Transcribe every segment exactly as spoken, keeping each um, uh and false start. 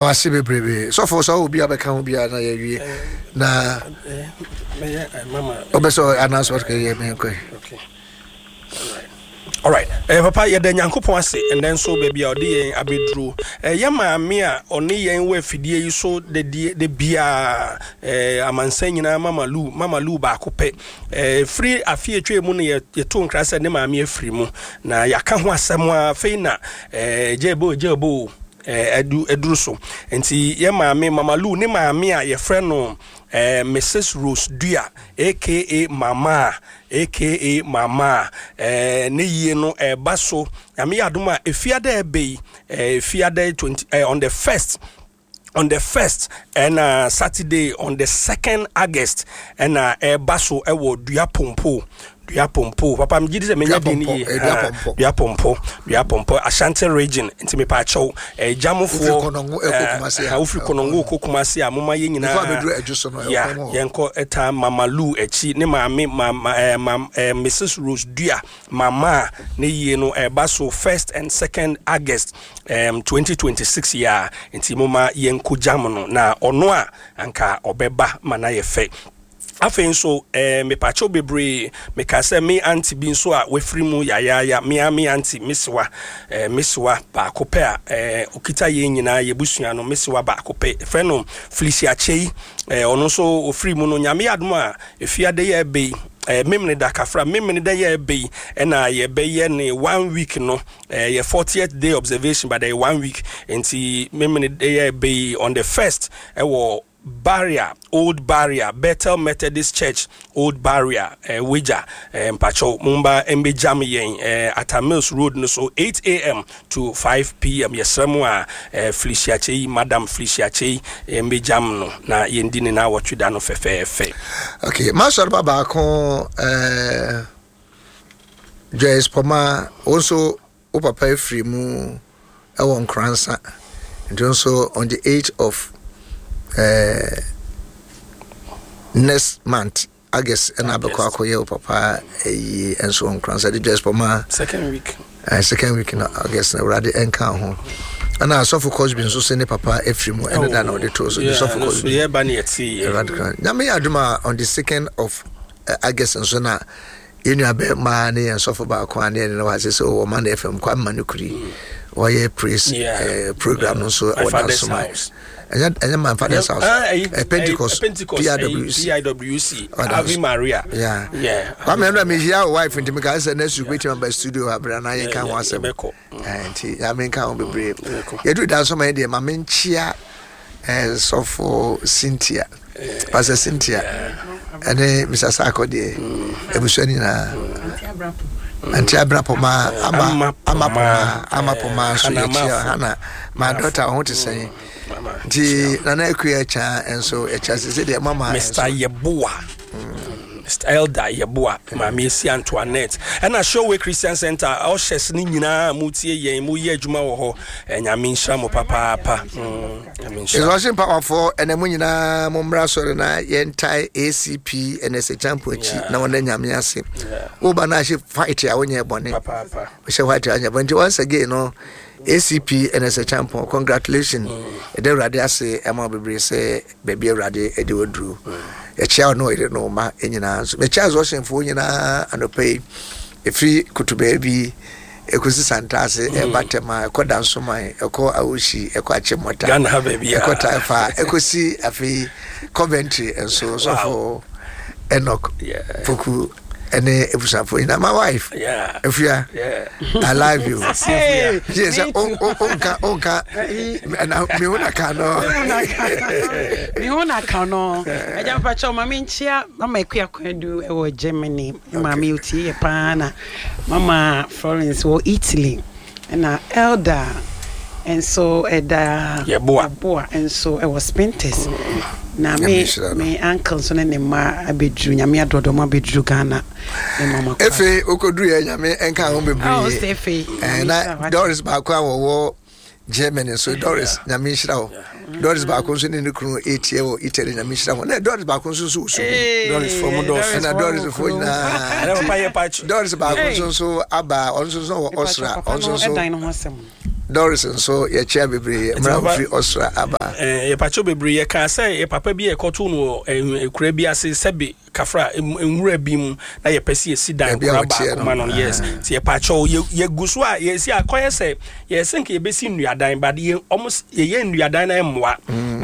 Ase bebrebe sɔfo sɛ ɔwɔ bi a bɛka ho biara na yɛwie na wobɛ sɛ anaasɛ ɔde yɛ menkɔe. Alright, eh, papa, yɛda Nyankopɔn ase ɛnɛ nso baabi a ɔde yɛn abɛduro. eh, yɛ maame a ɔne yɛn wɔ afidie yi so de de biaa, eh, amansan nyinaa Mama Lu, Mama Lu baako pɛ. eh, firi afe atwa mu no yɛto nkra sɛ ne maame afiri mu na yɛaka ho asɛm a afei na eh, gyebo gyebo adu aduru so. Nti yɛ maame Mama Lu ne maame a yɛfrɛ no eh, Missus Rose Dua, aka Mama, aka Mama, eh, ne yie no ɛba so Nyame yɛ adom a efiada ɛbɛ yi, eh, efiada twenty, eh, on the first on the first ɛna Saturday on the second August ɛna ɛba so ɛwɔ Dua Pompo, Dua Pompo. Papa, megye di sɛ menya din yie. Dua Pompo, Dua Pompo, Ashanti Region. Nti mepa akyɛw, gyamofoɔ, wofiri Kɔnɔngo kɔ Kumase a, moma yɛ nyinaa ya yɛnkɔ ɛta Mama Lu akyi, ne maame mama, eh, mam, eh, Missus Rose Dua Mama, ne yie no ɛba so first and second August um, twenty twenty-six yi a. Nti moma yɛnkɔ gyam no na ɔno a anka ɔbɛba ma na yɛ fɛ. Afei nso eh, mepakyɛw bebree, meka sɛ me aunty bi nso a wafiri mu yayaaya, mea me aunty mesewa, eh, mesewa baako pɛ a eh, okita yɛn nyinaa yɛbusua no, mesewa baako pɛ, frɛ no Felicia Kyei. eh, ɔno nso ofiri mu no, Nyame yɛ adom a, efiade yɛ ɛbɛ yi, eh, memene da kafra, memene da yɛ ɛbɛ yi ɛna yɛbɛyɛ ne one week no, eh, yɛ fortieth day observation, but ɛyɛ one week. Nti memene da yɛ ɛbɛ yi on the first ɛwɔ Barrier, Old Barrier, Bethel Methodist Church, Old Barrier, eh, Wagya, eh, mpakyɛw momba mbɛgyam yɛn, eh, Atta Mills Road no so, eight a m to five p m. Yɛsrɛ mu a, eh, Felicia Kyei, Madam Felicia Kyei, eh, mbɛgyam no na yɛndi ne naawɔtwe da no fɛfɛɛfɛ. Okay, masɔre ba baako, eh, Joyce Pɔma, wo nso wo papa afiri mu ɛwɔ Nkoransa, nti nso on the eighth of uh, next month, August, ɛna abɛkɔ akɔyɛ wo papa ayi nso wɔ Nkoransa de Joyce Pɔma. Second week. uh, second week na August na Awurade ɛnka ho. Ɛna Asɔfo Cosby nso sɛ ne papa afiri mu ɛne da na ɔde to so de Sɔfo Cosby. Yɛba ne yɛte. Awurade kan Nyame yɛ adom a, on the second of uh, August nso na yɛn nua bɛrima ne yɛn sɔfo baako a ne yɛn ne wɔ ase sɛ ɔwɔ ma na F M Kwame no kuri wɔyɛ praise uh, program no nso wɔ Dansoma. Ɛnyɛ ɛnyɛ my father's house, uh, Pentecost, P I W C. P I W C, Ave Maria. Yeah yeah Kwame, ɛnna mi hyia o wife nti mi ka sɛ next week wetin aba studio abira na yɛn ka ho asɛm, nti Nyame nka ho bebree. Yɛduru Dansoma yɛ deɛ, maame nkyia Sɔfo Cynthia, Pastor Cynthia ɛne Mister Sako deɛ, abusua no nyinaa, Aunty Abra Poma, ama ama Poma, ama Poma nso yɛkyia Hana, my daughter, ɔho te sɛn? Nti Nana Akua Kya nso yɛkyia sɛ sɛdeɛ mama. Mister Yeboa, Mister Elder Yeboa, Maame Esi Antoinette, ɛna Showway Christian Center ɔhyɛs ne nyinaa mu tie yɛn mu yɛ adwuma wɔ hɔ. Nyame nhyira mo papaapa. Nyame nhyira. Resurrection Powerfoɔ, ɛnɛ mo nyinaa mo mmra sɔre na yɛntae A C P ɛnɛ sɛ champo akyi na wɔn Nyame ase. Woba no ahyɛ white a wonyɛ bɔne, hyɛ white a wonyɛ bɔne. Nti once again no, A C P ɛnɛ sɛ champo, congratulations. Ɛdɛ Awurade ase ɛma bebree sɛ baabi Awurade ɛde waduru. Yɛkyia ɔno ɔyere no ma nyinaa nso. Mekyia Resurrectionfoɔ nyinaa anɔpa yi, ɛfiri kotobaa bi ɛkɔsi Santase, ɛba Tɛma, ɛkɔ Dansoman, ɛkɔ Awoshi, ɛkɔ Akyemmɔta, ɛkɔ Taifa, ɛkɔsi afei Coventry nso. Sɔfo Enoch Poku ɛne abusuafoɔ nyinaa, my wife Afia, I love you. Yɛ sɛ onka onka na mehu na ka no. Mehu na ka no. Agya, mpakyɛw ma menkyia Mama Akua Kwadu ɛwɔ Germany, maame otie yɛ paa, na Mama Florence wɔ Italy, ɛna Elder nso ɛda Yɛboa. Yɛboa nso ɛwɔ Spintex, na me me uncle nso ne ne mma abɛduru, Nyame adɔdɔ mu abɛduru Ghana, ne mama kɔ. Efe okoduru yɛ, Nyame nka ho bebree. Efe. Na Doris baako a wɔwɔ Germany nso, Doris, Nyame nhyira wo. Doris baako nso ne ne kunu etie wɔ Italy, Nyame nhyira ho. Na Doris baako nso nso wɔ so. Doris fo mu dɔɔso. Ɛna Doris fo nyinaa, Doris baako nso nso aba, ɔno nso nso wɔ Austria, ɔno nso nso. Doris nso yɛkyia bebree mmra papa- ofiri Ɔsora aba. Eh, yɛpakyɛw bebree. Yɛkaa sɛ yɛ papa bi a yɛkɔtoo no wɔ eh, kura bi ase, sɛbe kafra, em- nwura bi mu, na yɛpɛ sɛ yɛsi dan Baabi a kora wɔteɛ baako no. ma no. Yes, nti yɛpakyɛw, yɛ- yɛgu so a yɛsi akɔyɛ sɛ yɛsɛ nka yɛbɛsi nnuadan, but yɛ ɔmo s- yɛyɛ nnuadan na ɛmmoa.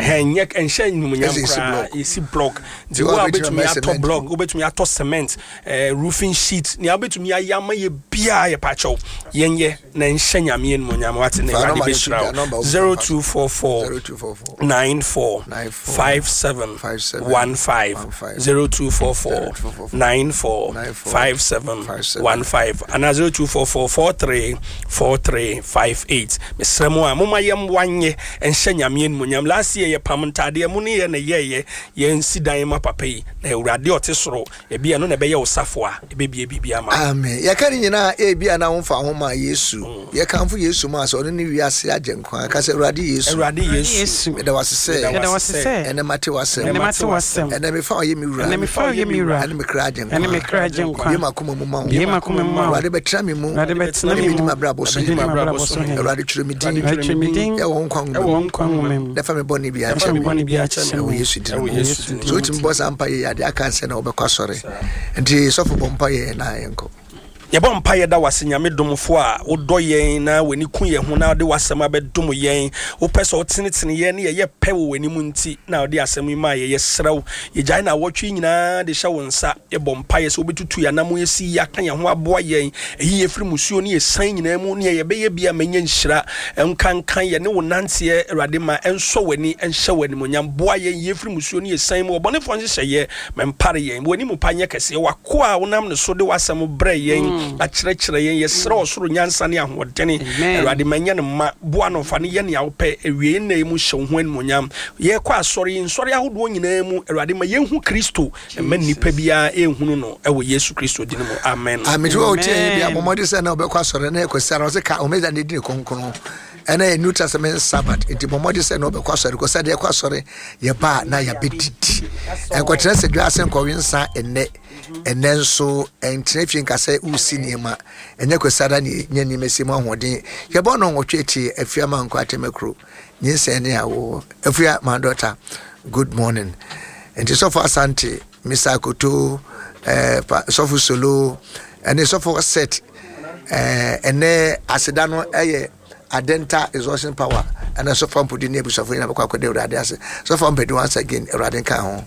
Ɛhɛn, nyɛ ɛnhyɛ animuonyam Ɛsɛ yɛsi koraa. block. Yɛsi block, nti Nti wo a wo a wobɛtumi wobɛtumi ama atɔ cement. block, wobɛtumi atɔ cement, eh, roofing sheet, nea wobɛtumi ayɛ ama yɛ biaa, yɛpakyɛw, yɛnyɛ na nhyɛ Nyame animuonyam, wate, na Fa Awurade number no to bɛhyira dwa, wo. number wo zero two four four zero two four four nine four nine four five seven five seven one five one five zero two four four nine four nine four five seven five seven one five anaa zero two four four four three four three five eight. Mesrɛ mu a moma yɛmmoa nyɛ ɛnhyɛ Nyame animuonyam. Last year yɛpam ntadeɛ mu ne yɛ na yɛyɛ yɛnsi dan ma papa yi, na Awurade a ɔte soro ebi ɛno na ɛbɛyɛ wo safo a ɛbɛbie biribi ama wo. Amen. Yɛka ne nyinaa, ebi a na womfa ho ma Yesu. Yɛkamfo Yesu mu a sɛ ɔno ne wiase agye nkwa. Ka sɛ, "Awurade Yesu, Awurade Yesu, Yesu, meda wase sɛ meda wase sɛ ɛnɛ mate w'asɛm, ɛnɛ mate w'asɛm, ɛnɛ mefa ɔyɛ me wura, ɛnɛ mefa ɔyɛ me wura, ɛne me kra agye ɛne me nkwa. kra agye nkwa. Bie m'akoma mu ma wo. Bie m'akoma mu ma wo. Awurade, bɛtena me mu. Awurade, bɛtena me Ɛne medi mu. m'abrabɔ so Ɛne hene. medi m'abrabɔ so hene. Awurade, twerɛ me din Awurade, twerɛ me din ɛwɔ wo nkwa ɛwɔ nwoma wo mu nkwa nwoma mu na fa me bɔne bi na fa akyɛ me me bɔne bi akyɛ ɛwɔ me. Yesu din Ɛwɔ mu. Yesu din So wotumi bɔ saa mpa yɛ ade aka nsɛ na wobɛkɔ asɔre, nti sɔfo, bɔ mpa yɛ na yɛnkɔ. Yɛbɔ mpa. Yɛda wase, Nyame domfo a wodɔ yɛn na w'ani ku yɛn ho na wode w'asɛm abɛdom yɛn. Wopɛ sɛ wotenetene yɛn ne yɛyɛ pɛ wɔ w'anim, nti na wode asɛm yi maa yɛ. Yɛserɛ wo, yɛgyae na awɔtwe nyinaa de hyɛ wo nsa. Yɛbɔ mpa yɛ sɛ wobɛtutu yɛn anam, yɛsi yi aka yɛn ho aboa yɛn, ɛyi yɛfiri musuo ne yɛsan nyinaa mu ne yɛbɛyɛ bi a manya nhyira nkankan yɛ ne wo nanteɛ. Awurade, ma ɛnsɔ w'ani, ɛnhyɛ w'animonyam. Boa yɛn, yɛfiri musuo ne yɛsan mu, ɔbɔnefoɔ nhyehyɛeɛ mɛmpare yɛn. W'anim pa nyɛ kɛseɛ. Wakoa a wonam ne so de w'asɛm brɛ yɛn akyerɛkyerɛ yɛn, yɛserɛ ɔsoro nyansa ne ahoɔdene. Amen. Awurade, ma nyɛ no ma boa no, fa no yɛ nea wopɛ. Awie nna yi mu, hyɛ wo ho animonyam. Yɛkɔ asɔre yi, nsɔre ahodoɔ nyinaa mu, Awurade, ma yɛnhu Kristo, ɛma nnipa biara ɛnhunu no, ɛwɔ Yesu Kristo din mu, amen. Amen. Wa wotie Amen. bi abɔmmɔde sɛ na wobɛkɔ asɔre na yɛkɔsi ara ɔsɛ ka Homeda ne di ne kronkron, ɛna yɛ New Testament Sabbath, nti bɔmmɔde sɛ na wobɛkɔ asɔre kɔ sɛdeɛ yɛkɔ asɔre yɛba a na yɛbɛdidi. Ɛnkɔtena sɛ dwa ase nkɔwe nsa ɛnnɛ. Ɛnnɛ nso ɛntena fie nka sɛ wosi nneɛma. Ɛnyɛ kwasiada ne nyɛ nneɛma si mu ahoɔden. Yɛbɔ no nwɔtwe tie Afia ma nkɔ atɛmɛkuro nyinsɛn ne awo. Afia, my daughter, good morning. Nti Sɔfo Asante, Mister Akoto, eh, pa, Sɔfo Solo ɛne Sɔfo Set, eh, ɛnɛ aseda no ɛyɛ Adenta Exhaustion Power ɛna Sɔfo Ampodi ne abusuafo nyinaa bɛkɔ akɔda Awurade ase. Sɔfo Ampodi, once again, Awurade nka ho.